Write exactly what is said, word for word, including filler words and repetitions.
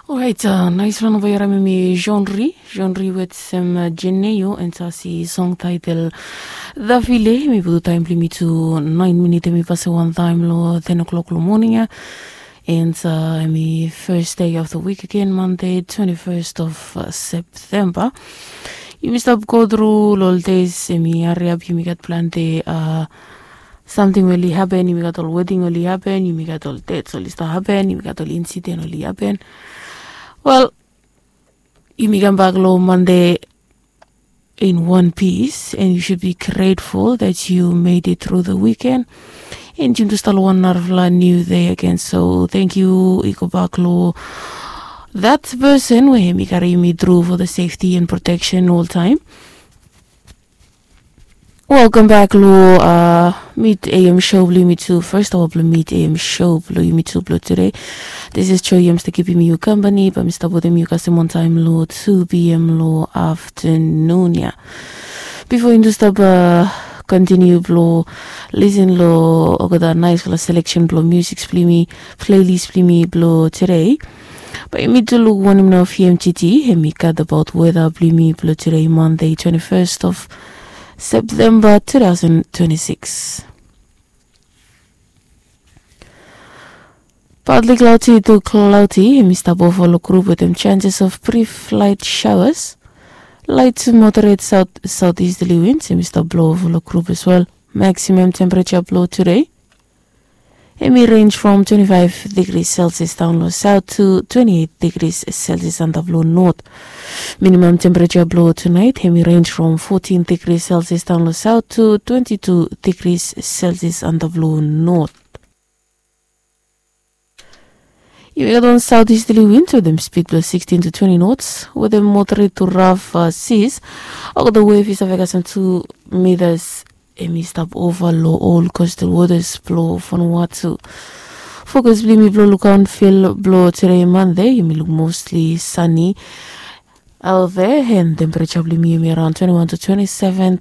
Orait, nais long namba i harim em i Jean Ri, Jean Ri wetem Jeneo, and sasi song title Davile. Hemi putum taem blong yumi tu naen minit hemi pasim wan taem long ten o'clock long moning ia. And hemi first day of the week again, Monday, twenty-first of September. Yumi stap go tru long ol days hemi hariap, yumi gat plante samting we oli hapen, yumi gat ol weding oli hapen, yumi gat ol dets oli stap hapen, yumi gat ol insiden oli hapen. Wel, yumi kambak long Mande in one piece, and you should be grateful that you made it through the weekend. And yumi tu stap long wan narafala new day again, so thank you i go bak long that person we hemi karim yumi tru for the safety and protection all time. Welcome back long Mid A M show blong yumi tu. First of all, blong Mid A M show blong yumi tu blong today. This is Joy Yams to keep you company, but Mr. Bodem you kasem on time long two P M long afternoon ia. Before yumi tu stap continue blong listen long olgeta naisfala selection blong music blong yumi, playlist blong yumi blong today. Bae yumi tu luk wanem nao V M T T hemi gat abaot weta blong yumi blong today, Monday, twenty-first of September, two thousand twenty-six. Partly cloudy to cloudy, hemi stap ova long group wetem chances of brief light showers. Light to moderate south southeasterly winds hemi stap blo ova long group as well. Maximum temperature blong today hemi range from twenty-five degrees Celsius down long south to twenty-eight degrees Celsius antap long north. Minimum temperature blong tonight hemi range from fourteen degrees Celsius down long south to twenty-two degrees Celsius antap long north. Yumi gat wan southeasterly wind wetem speed blong sixteen to twenty knots wetem moderate to rough seas. Olgeta wave i save kasem two meters. Hemi stap ova long ol coastal waters blong Vanuatu. Fokus blong yumi blong lukaot field blong today Monday, yumi luk mostly sunny out there, and temperature blong yumi hemi around twenty-one to twenty-seven